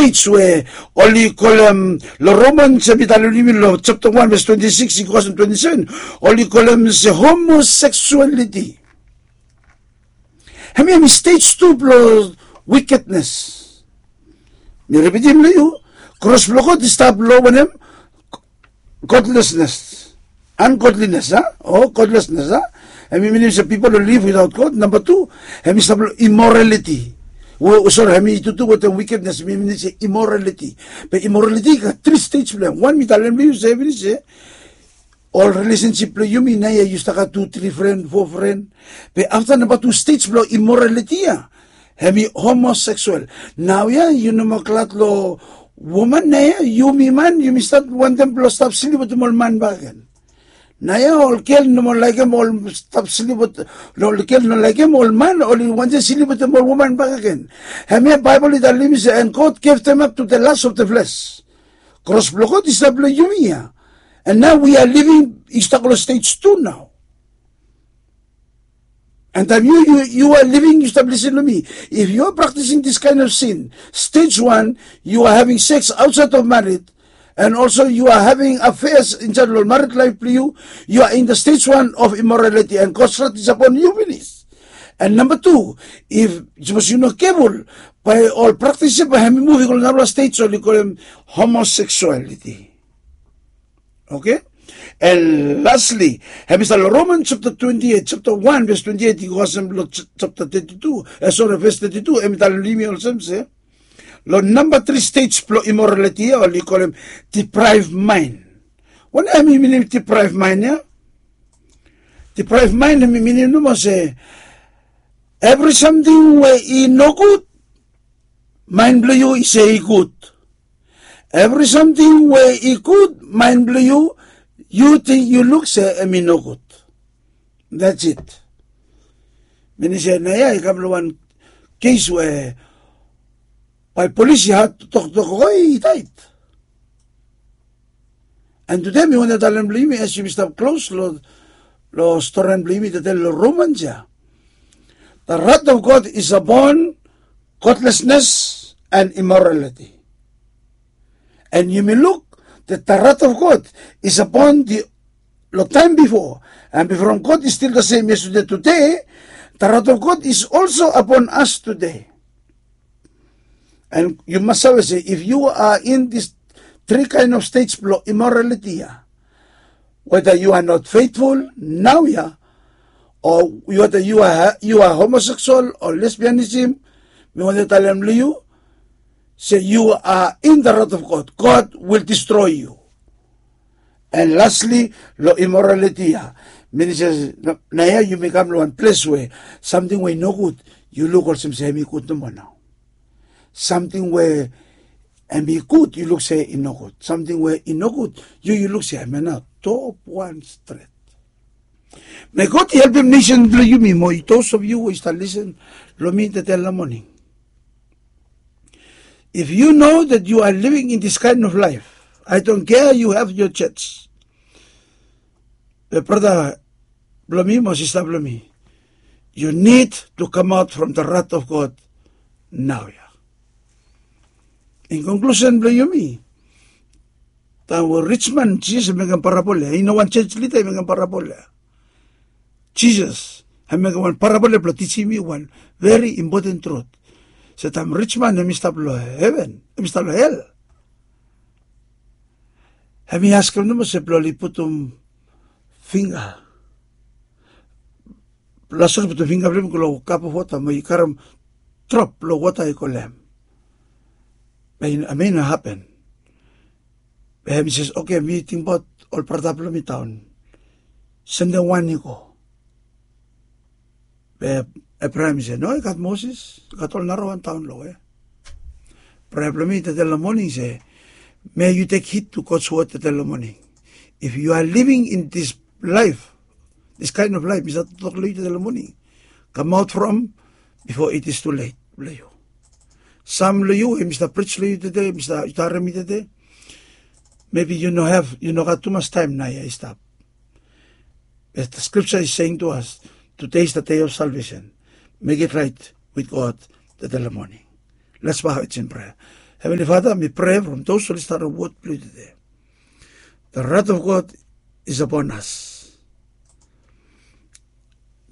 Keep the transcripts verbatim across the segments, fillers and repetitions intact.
stage we oli kolem, lo Romans hemi talem long yumi lo chapter one verse twenty-six i go kasem twenty-seven, oli kolem se homosexuality. Hemi hemi stage tu blo wickedness. Mi ripitim lo yu, kros blo God i stap lo wanem? Godlessness, ungodliness, a? O godlessness, a? Hemi minim se pipol oli live without God. Namba tu, hemi stap lo immorality. Sori, hemi tutu wetem wickedness, mi minim se immorality. Be immorality i gat tri stage blo hem. Wan mi talem lo yu se hemi se ol relationship blo yumi naoia yu stap gat tu tri fren, fo fren. Be afta namba tu stage blo immorality ya, hemi homosexual. Naoia yu no moa glad lo woman, naoia yumi man yumi stap wantem blo stap slip wetem ol man bakegen. Naoia ol gel no moa laekem ol stap slip wet, ol gel no laekem ol man oli wantem slip wetem ol woman bakegen. Hemia Baebol i talem yumi se, and God gave them up to the lust of the flesh. Kros blo God i stap lo yumi ya. And now we are living, i stap lo stage two now. And taem yu, yu, yu are living, yu stap lisin long mi. If you are practicing this kind of sin, stage one, you are having sex outside of married, and also you are having affairs inside lo married life blong yu, you are in the stage one of immorality, and God's wrath is upon you finis. And namba tu, if sapos yu no careful, bae ol praktis ya bae hemi muv i go lo narafala stage oli kolem homosexuality. Okay? And lastly, hemi stap lo Romans chapter twenty-eight, chapter one verse twenty-eight i go kasem lo ch-, chapter thirty-two, e sori, verse thirty-two, hemi talem long yumi olsem se, lo namba tri stage blo immorality ya oli kolem deprived mind. Wanem hemi minim deprived mind ya? Deprived mind hemi minim nomo se evri samting we i nogud, mind blo yu i se i gud. Evri samting we i gud, mind blo yu, yu ting, yu luk se hemi nogud. That's it. Minim se naoia i kam lo wan kes we bae polis i hat toktok, oi, i taet. And tude mi wantem talem long yumi, as yumi stap klos lo, lo storian blong yumi, i talem lo Romans ya, the wrath of God is upon godlessness and immorality. And yumi luk that the wrath of God is upon the, lo taem bifo. And bifo from God is still the same yesterday, today, the wrath of God is also upon us today. And yu mas save se if yu are in this tri kaen of stage blo immorality ya, whether you are not faithful naoia, o whether you are, you are homosexual o lesbianism, mi wantem talem long yu se you are in the wrath of God. God will destroy you. And lastly, lo immorality ya, minim se naoia yumi kam lo wan ples we samting we i nogud yu luk olsem se hemi gud nomo nao. Samting we hemi gud yu luk se i nogud. Samting we i nogud yu, yu luk se hemia nao top wan stret. May God i helpem nesen blong yumi mo those of you we i stap lisin long mi tede long moning. If you know that you are living in this kind of life, I don't care you have your church. Be brata blong mi mo sista blong mi, you need to come out from the wrath of God naoia. In conclusion blong yumi, taem we rich man, Jisas i mekem parabol ya, i no wan church leader i mekem parabol ya. Jisas hemi mekem wan parabol ya blo tijim yumi wan very important truth. Se taem rich man hemi stap lo heven, hemi stap lo hel, hemi askem nomo se blo oli putum fingga, Lasarus i putum fingga blong hem i go lo cup of water mo i karem drop blo wota i go long hem. Be hemia i no hapen. Be hemi se, okay, mi tingbaot ol brata blong mi daon, sendem wan i go. Be Ebraham i se, no, i gat Moses, i gat ol narawan daon lo we. Prea blong mi tede long moning se, may you take heed to God's word tede long moning. If you are living in this life, this kind of life mi save toktok long yu tede long moning, kamaot from bifo it is too late blong yu. Sam long yu we mi stap prij long yu tede, mi stap, yu stap harem mi tede, maybe yu no have, yu no gat tumas taem naoia i stap. As the scripture is saying to us, today is the day of salvation. Make it right with God tede long moning. Let's bow our heads in prayer. Heavenly Father, mi prea from those oli stap long wod blong yu tude. The wrath of God is upon us.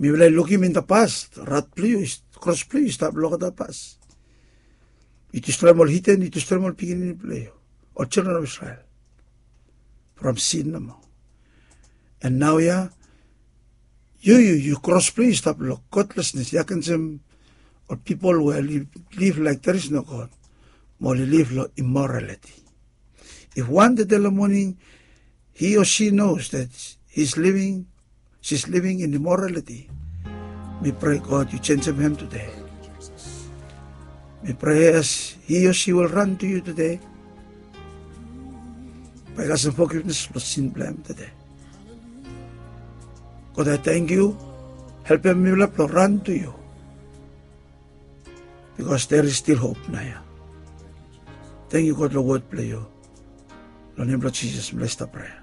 Mifala i lukim in the past, wrath blong yu, kros blong yu i stap long olgeta past. Yu destroem ol hiden, yu destroem ol pikinini blong yu, ol children of Israel, from sin nomo. And naoia yu yu yu kros blong yu i stap long godlessness. Yu agensim ol pipol we liv laik there is no God, mo oli liv long immorality. If wan tude long moning he or she knows that he's living, she's living in immorality, mi prea God yu jenisim hem tude. Mi prea as he or she will run to yu tude, bae i kasem forgiveness long sin blong hem tude. God, I thank you. Helpem mifala blong run to yu, because there is still hope naoia. Thank you God long wod blong yu. Long nem blong Jisas mifala i stap prea.